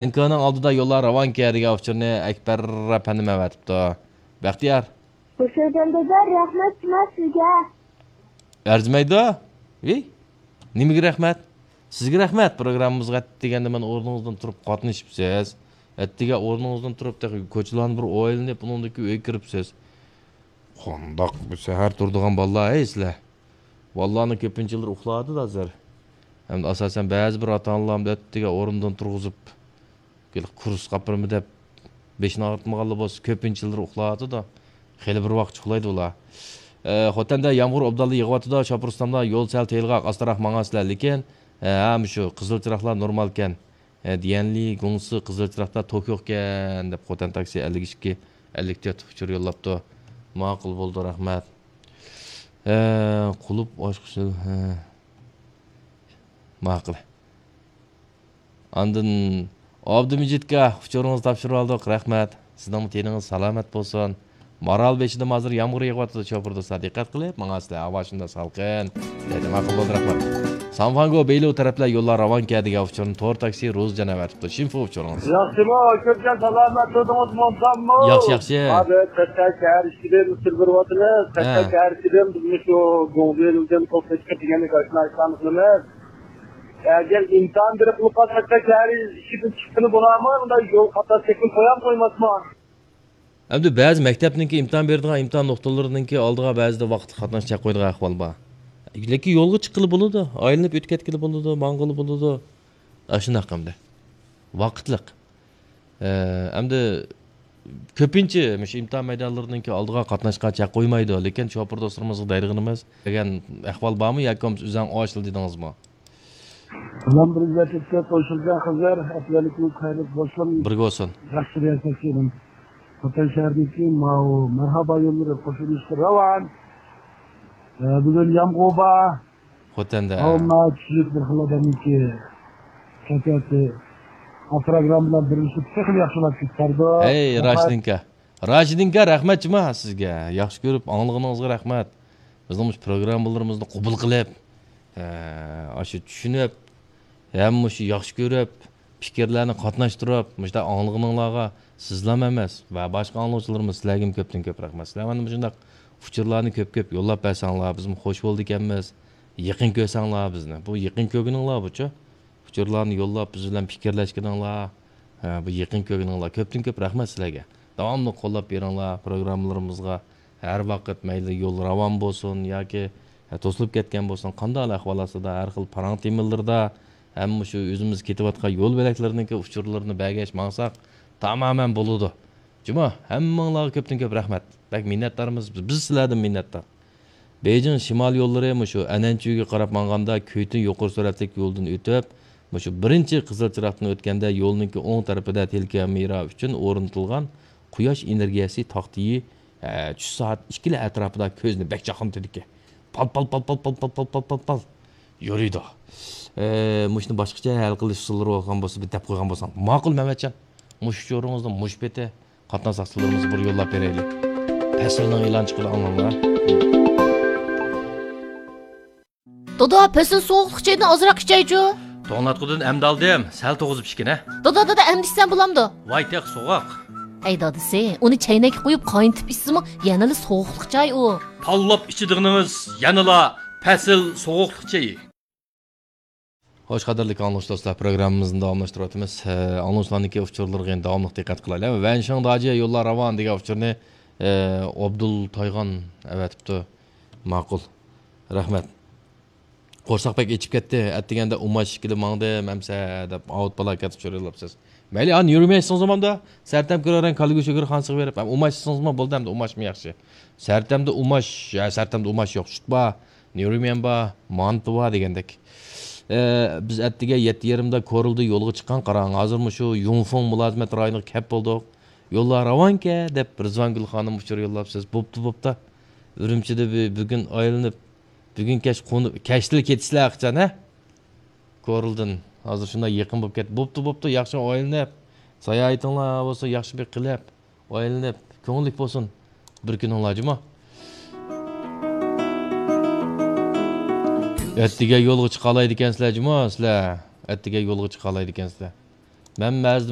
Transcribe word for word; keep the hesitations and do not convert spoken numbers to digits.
ئېنكونىڭ ئالدىدا يوللار راۋانكەن دېگەن ئۇچۇرنى ئەكبەر ئەپەندىم ئەۋەتىپتۇ. بەختىيار. خۇش كەلدىڭ دادا، رەھمەت جۇما سىزگە. ئەرزىمەيدۇ؟ ۋىي؟ نېمىگە رەھمەت؟ سىزگە رەھمەت، پروگراممىمىزغا ئەتىگەندە مانا ئورنىڭىزدىن تۇرۇپ قاتنىشىپسىز. ئەتىگەن ئورنىڭىزدىن تۇرۇپ تېخى كوچىلارنى بىر ئايلىنىپ، ئۇنىڭدىن كېيىن ئۆيگە كىرىپسىز. قانداق بۇ سەھەر تۇرىدىغان بالىلار ھەي سىلەر؟ بالىلارنىڭ كۆپىنچىلىرى ئۇخلاۋاتىدۇ ھازىر. ھەمدە ئاساسەن بەزى بىر ئاتا-ئانىلار ئەتىگەن ئورنىدىن تۇرغۇزۇپ، كۇرس قاپىرىمۇ دەپ بېشىنى ئاغرىتمىغانلا بولسا، كۆپىنچىلىرى ئۇخلاۋاتىدۇ. خېلى بىر ۋاقىت ئۇخلايدۇ ئۇلار. ئە، خوتەندە يامغۇر ئوبدانلا يېغىۋاتىدۇ، شوپۇر ئۇستامدا يول سەل تېيىلغاق، ئاستىراق ماڭاسىلەر، لېكىن، ئە، ھە، مۇشۇ قىزىل چىراغلار نورمالكەن. ئە، ديەنلى گۇڭسى قىزىل چىراغدا توك يوقكەن، دەپ خوتەن تاكسى ئەللىك ئىككى، ئەللىك تۆت ئۇچۇر يوللاپتۇ. ماقۇل بولدى، رەھمەت. ئە، قۇلۇپ ئاچقۇچى، ھە. ماقۇل. ئاندىن ئابدۇمىجىتكە ئۇچۇرىڭىزنى تاپشۇرۇۋالدۇق، رەھمەت. سىزنىڭمۇ تېنىڭىز سالامەت بولسۇن. مارالبېشىدىمۇ ھازىر يامغۇر يېغىۋاتىدۇ، شوپۇر دوستلار، دىققەت قىلىپ ماڭاسىلەر، ھاۋا شۇنداق سالقىن. دەيدۇ، ماقۇل بولدى، رەھمەت. سانفانگو بېيلۇ تەرەپلەر يوللار راۋانكەن دېگەن ئۇچۇرنى تور تاكسى روزى جان ئەۋەتىپتۇ. شىنفۇ ئۇچۇرىڭىز. ياخشىمۇ، كۆپكەن سالامەت تۇردىڭىزمۇ، ئوبدانمۇ؟ ياخشى، ياخشى. ھازىر قەشقەر شەھەر ئىچىدىن سىلۋىرۋاتىمىز. قەشقەر ھە. شەھەر ئىچىدىن بىز مۇشۇ گۇڭزېلۇدىن قوپۇپ چىقىپ دېگەندەك ئاشۇنداق ئىشلارنى قىلىمىز. ئەگەر ئىمتىھان بېرىپ قالساق، قەشقەر شەھەر ئىچىدىن چىققىلى بولامۇ؟ مۇنداق يول قاتناش چەكلىمە قويامۇ قويماسمۇ؟ ئەمدى بەزى مەكتەپنىڭكى ئىمتىھان بېرىدىغان ئىمتىھان نۇقتىلىرىنىڭكى ئالدىغا بەزىدە ۋاقىتلىق قاتناش چەك قويىدىغان ئەھۋال بار. لېكىن يولغا چىققىلى بولىدۇ، ئايلىنىپ ئۆتۈپ كەتكىلى بولىدۇ، ماڭغىلى بولىدۇ. ئاشۇنداق ئەمدى. ۋاقىتلىق. ئە، ئەمدى كۆپىنچە مۇشۇ ئىمتىھان مەيدانلىرىنىڭكى ئالدىغا قاتناشقا چەك قويمايدۇ، لېكىن شوپۇر دوستلىرىمىزغا دەيدىغىنىمىز، دېگەن ئەھۋال بارمۇ ياكى بولمىسا ئۆزۈڭ ئاشىلا دېدىڭىزمۇ؟ سالام، بىر ئىززەتلىككە قوشۇلغان خىزىر، ئەپلەلىكىڭىز خەيرلىك بولسۇن. بىرگە بولسۇن. ياخشى رىياسەتچىنىڭ خوتەن شەھىرىدىكى ماۋۇ مەرھابا يوللىرى قوشۇلۇشقا راۋان. ئە، بۈگۈن يامغۇر بار. خوتەندە. ئەمما چۈشلۈك بىر خىل ئادەمنىڭكى كەيپىياتى ئا پروگرامما بىلەن بىرلىشىپ تېخىمۇ ياخشىلاپ كېتەردۇ. ھەي، رەھمەت. راشىدىنكا. راشىدىنكا، رەھمەت جۇما سىزگە. ياخشى كۆرۈپ ئاڭلىغىنىڭىزغا رەھمەت. بىزنىڭ مۇشۇ پروگراممىلىرىمىزنى قوبۇل قىلىپ، ئە، ئاشۇ چۈشىنىپ، ھەم مۇشۇ ياخشى كۆرۈپ، پىكىرلەرنى قاتناشتۇرۇپ، مۇشۇنداق ئاڭلىغىنىڭلارغا سىزلام ئەمەس ۋە باشقا ئاڭلىغۇچىلىرىمىز سىلەرگىمۇ كۆپتىن كۆپ رەھمەت. سىلەر مانا مۇشۇنداق ئۇچۇرلارنى كۆپ كۆپ يوللاپ بەرسەڭلار، بىزمۇ خوش بولىدىكەنمىز، يېقىن كۆرسەڭلار بىزنى. بۇ يېقىن كۆرگىنىڭلار بۇچۇ. ئۇچۇرلارنى يوللاپ، بىز بىلەن پىكىرلەشكىنىڭلار، ھە، بۇ يېقىن كۆرگىنىڭلار. كۆپتىن كۆپ رەھمەت سىلەرگە. داۋاملىق قوللاپ بېرىڭلار پروگراممىلىرىمىزغا. ھەر ۋاقىت مەيلى يول راۋان بولسۇن ياكى، ھە، توسۇلۇپ كەتكەن بولسۇن، قانداق ئەھۋال ئاستىدا ھەر خىل پاراڭ تېمىلىرىدا ھەم مۇشۇ ئۆزىمىز كېتىۋاتقان يول بۆلەكلىرىنىڭكى ئۇچۇرلىرىنى بەرگەچ ماڭساق تامامەن بولىدۇ. جۇما، ھەممىڭلارغا كۆپتىن كۆپ رەھمەت. بەك مىننەتدارمىز. بىز سىلەردىن مىننەتدار. بېيجىڭ شىمال يوللىرى مۇشۇ ئەنئەنچۈگە قاراپ ماڭغاندا كۈيتۈن يۇقىرى سۈرئەتلىك يولدىن ئۆتۈپ، مۇشۇ بىرىنچى قىزىل چىراغدىن ئۆتكەندە يولنىڭكى ئوڭ تەرىپىدە تېلېكامېرا ئۈچۈن ئورنىتىلغان قۇياش ئېنېرگىيەسى تاختىيى، ئە، چۈش سائەت ئىككىلەر ئەتراپىدا كۆزنى بەك چاقنىتىدىكەن. پال، پال، پال، پال يورۇيدۇ. ئە، مۇشۇنى باشقىچە ھەل قىلىش ئۇسۇللىرى بولغان بولسا، بىر دەپ قويغان بولساڭ. ماقۇل، مەمەتجان. مۇشۇ ئۇچۇرىڭىزنى مۇشۇ پېتى قاتناش ساقچىلىرىمىزغا بىر يوللاپ بېرەيلى. پەسىلنىڭ ئېلان چىقىدۇ، ئاڭلاڭلار. دادا، پەسىل سوغۇقلۇق چايدىن ئازراق ئىچەيچۇ. توڭلاتقۇدىن ئەمدى ئالدىم، سەل توغۇزۇپ ئىچكىنە. دادا، دادا، ئەمدى ئىچسەم بولامدۇ؟ ۋاي، تېخى سوغۇق. ئەي دادىسى، ئۇنى چەينەككە قۇيۇپ قاينىتىپ ئىچسىمۇ يەنىلا سوغۇقلۇق چاي ئۇ. تاللاپ ئىچىدىغىنىڭىز يەنىلا پەسىل سوغۇقلۇق چېيى. خوش، قەدىرلىك ئاڭلىغۇچى دوستلار، پروگراممىمىزنى داۋاملاشتۇرۇۋاتىمىز. ھە، ئاڭلىغۇچىلارنىڭكى ئۇچۇرلىرىغا داۋاملىق دىققەت قىلايلى. ۋەنشىڭ داجى يوللار راۋان دېگەن ئۇچۇرنى، ئە، ئابدۇل تايغان ئەۋەتىپتۇ. ماقۇل. رەھمەت. قورساق بەك ئېچىپ كەتتى. ئەتىگەندە ئۇماش ئىككىلى ماڭدىم، ئەمسە دەپ ئاۋۇت پالاكەت ئۇچۇر يوللاپسىز. مەيلى، ئانا يۈرمەي ئىچسىڭىزمۇ بولامدۇ؟ سەرتەم كۆرەرەڭ كالىگۈ شۆگىرى خانىسىغا بېرىپ، ئەم، ئۇماش ئىچسىڭىزمۇ بولدى، ئەمدى ئۇماشمۇ ياخشى. سەرتەمدە ئۇماش، يا، سەرتەمدە ئۇماش يوق، سۈت بار، نيۇرميەن بار، مانتا بار دېگەندەك. ئە، بىز ئەتىگە يەتتە يېرىمدا كورلىدىن يولغا چىققان، قاراڭ، ھازىر مۇشۇ يۇڭفېڭ مۇلازىمەت رايونىغا كەپ بولدۇق. يوللار راۋانكەن دەپ رىزۋانگۈل خانىم ئۇچۇر يوللاپسىز. بوپتۇ، بوپتۇ. ئۈرۈمچىدە بۈ-، بۈگۈن ئايلىنىپ، بۈگۈن كەچ قونۇپ، كەچتىلا كېتىسىلەر ئاخىرچان، ھە؟ كورلىدىن ھازىر شۇنداق يېقىن بولۇپ كەتتى. بوپتۇ، بوپتۇ، ياخشى ئايلىنىپ، ساياھىتىڭلار بولسا ياخشى بىر قىلىپ، ئايلىنىپ، كۆڭۈللۈك بولسۇن بىر كۈنۈڭلار جۇمۇ. ئەتىگە يولغا چىقالايدىكەنسىلەر جۇمۇ سىلەر. ئەتىگە يولغا چىقالايدىكەنسىلەر. مەن مەزىدىم